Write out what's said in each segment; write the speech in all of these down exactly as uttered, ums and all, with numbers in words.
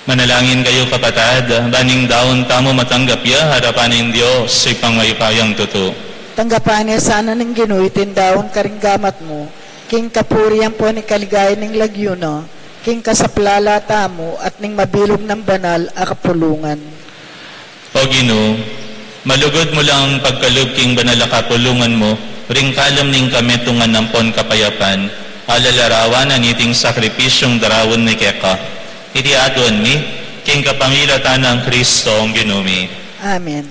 Manalangin kayu, kapatad, ban ing daun tamu matanggap ya arapan ning Dios, Ibpang mayupayang tutu. Tanggapan na sana ning Ginu iting daun karing gamat mu, king kapurian ampon king kaligayan ning lagyu na, king kasaplalan tamu at ning mabilug nang banal a kapulungan. O Ginu, malugud mu lang pagkalub king banal a kapulungan mu, ring kalam ning kametungan ampon kapayapan, a lalarawan na niting sakripisyung daraun mi keka. Iti aduan mi, king kapamilatan nang Kristong Ginu mi. Amen.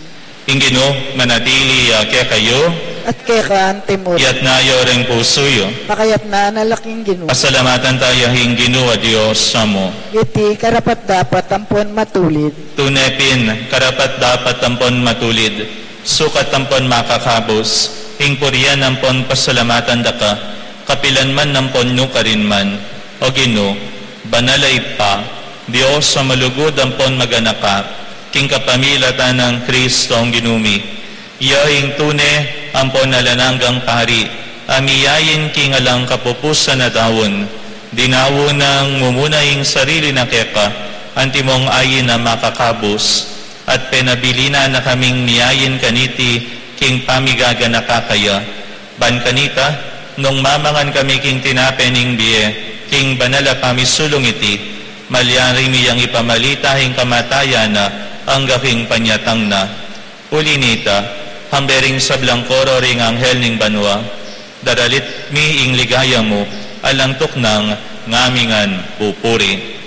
Ing Ginu manatili ya kekayu. At keka antimu rin. Iyatas yu ring pusu yu. Pakayatas na la king Ginu. Pasalamatan taya ing Ginu a Dios tamu. Iti karapat-dapat ampon matulid. Tune pin, karapat-dapat ampon matulid, sukat ampon makakabus, ing purian ampon pasalamatan da ka, kapilan man ampon nukarin man, O Ginu, banal a Ibpa, Dios a malugud ampon maganaka, king kapamilatan nang Kristong Ginu mi. Iya ing tune ampon alang anggang pari, a miyain king alang kapupusan a daun, dinaun nang mumuna ing sarili na keka, antimong ain a makakabus, at penabilin na kaming miyain kaniti king pamigaganaka kaya. Ban kanita, nung mamangan kami king tinape ning bie, king banal a pamisulung iti, malyari mi yang ipamalita ing kamatayan na, angga king panyatang na. Uli nita, hambe ring sablang koro ring anghel ning banua, daralit mi ing ligaya mu, alang tuknang ngamingan pupuri.